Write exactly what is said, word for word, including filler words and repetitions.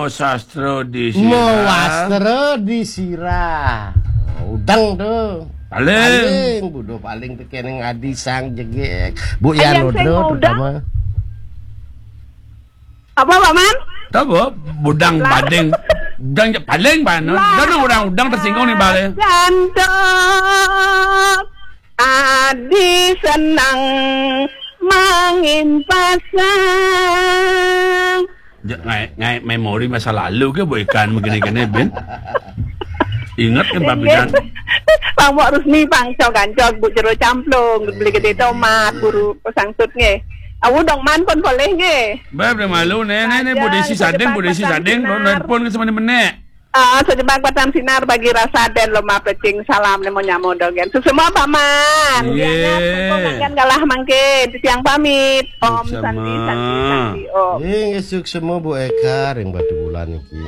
Sastra di sirah. Mawastra di sirah. Udang to. Paling. Paling, budo paling tekene adi sang jegeg. Bu Yan Udang. Apa, Pak Man? Tahu, Bu? Budang bading. Udang je paling, Pak. Lah. Udang, orang udang tersinggung nih, Bang. Jantok. Adi senang mangin pasang. Ngai, ngai memori masa lalu ke, Bu, ikan begini-gini, Bin? Ingat kan, Pak Bidan? Bang Mok Rusni, Pangcok Gancok, Bu Jero Camplung, beli gede tomat, buru pesang tut nge. Awu dong man pun boleh nge. Bab, dah malu, ne, ne, ne, Bu Desi Sadeng, Bu Desi Sadeng, nelpon ke sama ni menek. Ah, sejebak batang sinar bagi rasa dan lomba pecing salam nemo nyamo dogen. Susuma Pak Man. Iya. Diangat, mangkin galah mangkin. Titiang pamit. Om Santi, Santi, Santi, Om. Inggih, suksma Bu Eka ring Batubulan niki.